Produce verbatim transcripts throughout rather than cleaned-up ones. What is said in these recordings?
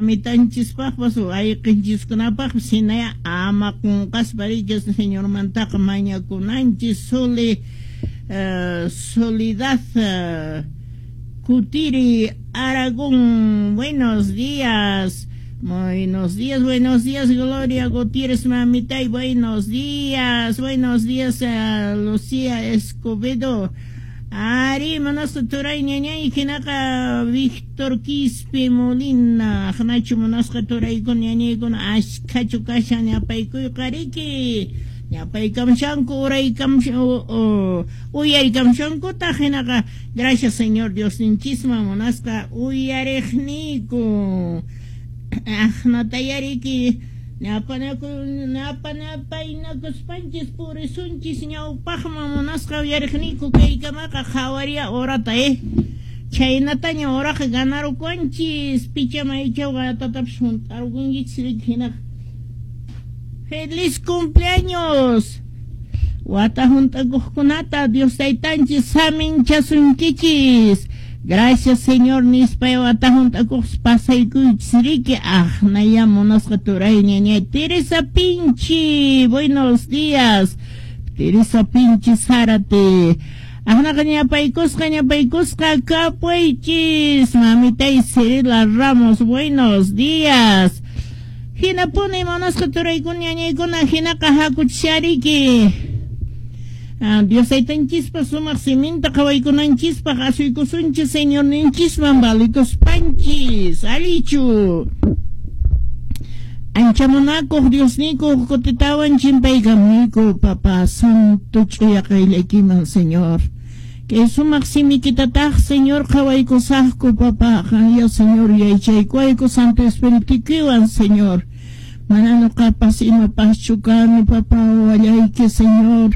mamitanchispaqpas wayqinchiskunapaqpas hinaya ama qunqaspa riki Señormantaqa mañakunanchis. Sole uh, Soledad uh, Cutiri Aragón, buenos días. Buenos días, buenos días, Gloria Gutiérrez, mamita, y buenos días, buenos días, uh, Lucía Escobedo. Ari, munasqa turay ñañay, hinaqa Víctor Quispe Molina, aqnachu munasqa turaykuna ñañaykuna ashkhachu kashan ñapaykuyqa riki. Ñapaykamshanku uraykamshan uyarikamshankutaq hinaqa gracias Señor Diosninchisman munasqa uyariqniyku. Aqnatayariki ñapanaku ñapanapaynakuspanchis purisunchis ñawpaqman munasqa uyariqniyku kaykamaqa qhawaria horata eh chhaynataña horaqa ganarukunchis picha maychawqa tatapis hunt'arqunkichis riki hinaqa. ¡Feliz cumpleaños! Wata hunt'akuqkunata Dios taytanchis saminchasunkichis. Gracias Señor nispa wata hunt'akuq pasaykuychis riki. Aqnaya munasqa turay ñañay Teresa Pinchi, buenos días. Teresa Pinchi Zárate. Aqnaqa ñapaykusqa ñapaykusqa kapuychis. Mamitay Cirila Ramos, buenos días. Hinapuni munasqa turaykuna ñañaykuna hinaqa hakuchishariki. Ah, Dios taytanchispa sumaq siminta qhawaykunanchispaq asuykusunchis Señorninchisman valikuspanchis. Allichu. Ancha munakuq Diosniyku kutitawan chimpaykamuyku Papá Santo ch'uya qayllaykiman Señor. Kay sumaq simikitataq Señor qhawaykusaqku Papá, qanya Señor yachaykuwayku Santo Espiritukiwan Señor. Mana nuqapas imapaschu kani Papá wallayki Señor.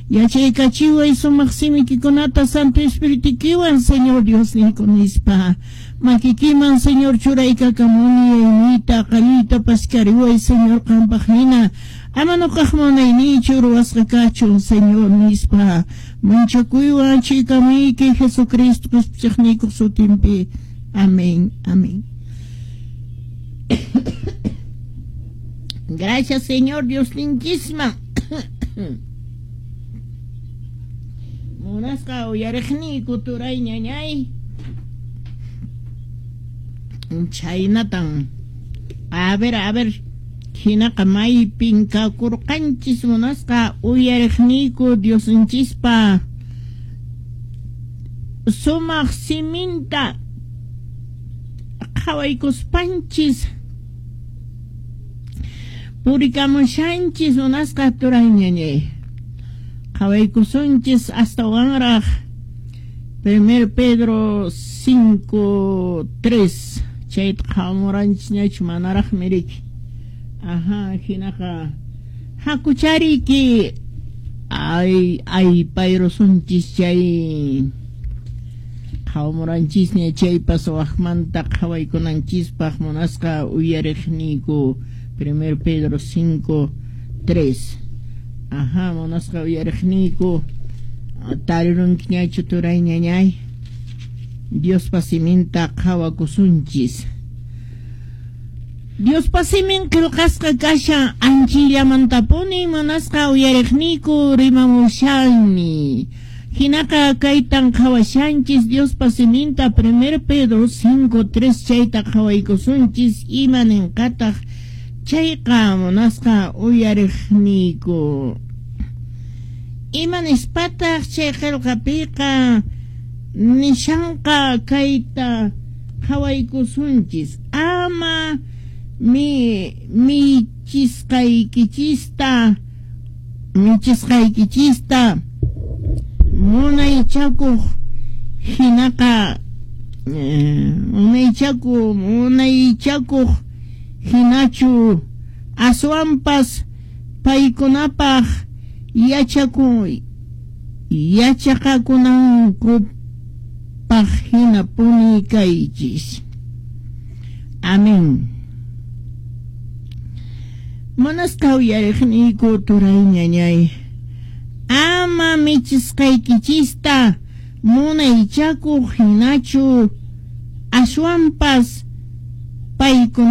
Yachaykachiway sumaq simikikunata Santo Espiritukiwan Señor Diosniyku nispa. Makikiman Señor churaykakamuni yayniyta qalluyta paskariway Señor qampaq hina. Ama nuqaq munayniychu ruwasqa kachun Señor nispa. Manchakuywan chikamuyki Jesucristo Qispichiqniykuq sutinpi. Amén, amén. Gracias Señor Dios linchisman. Munasqa uyariqniyku turay ñañay. Chhaynatan. A ver, a ver. Hinaqa maypin kakurqanchis munasqa uyariqniyku Diosninchispa sumaq siminta qhawaykuspanchis purikamushanchis munasqa turay ñañay. Qhawaykusunchis astawanraq Primer Pedro cinco tres chayta qhawamuranchis ñachu manaraqmi riki. Ajá, hinaqa hakuchariki ay ay payrusunchis chay qhawamuranchisña chaypas waqmanta qhawaykunanchispaq munasqa uyariqniyku Primer Pedro cinco tres. Ajá, munasqa uyariqniyku tarirunkiñachu turay ñañay. Diospa siminta qhawakusunchis. Diospa simin qillqasqa kashan anchillamantapuni munasqa uyariqniyku rimamushanmi. Hinaqa kaytan qhawashanchis Diospa siminta Primer Pedro cinco tres chayta qhawaykusunchis ima ninqataq chayqa munasqa uyariqniyku. Ima nispataq chay qillqapiqa nishanqa kayta qhawaykusunchis. Ama mi michisqaykichista michisqaykichista munaychakuq hinaqa munaychakuq munaychakuq hinachu aswanpas paykunapaq yachaku yachaqakunankupaq hinapuni kaychis. Amén. Munasqa uyariqniyku turay ñañay. Ama michisqaykichista munaychakuq hinachu aswanpas paykuna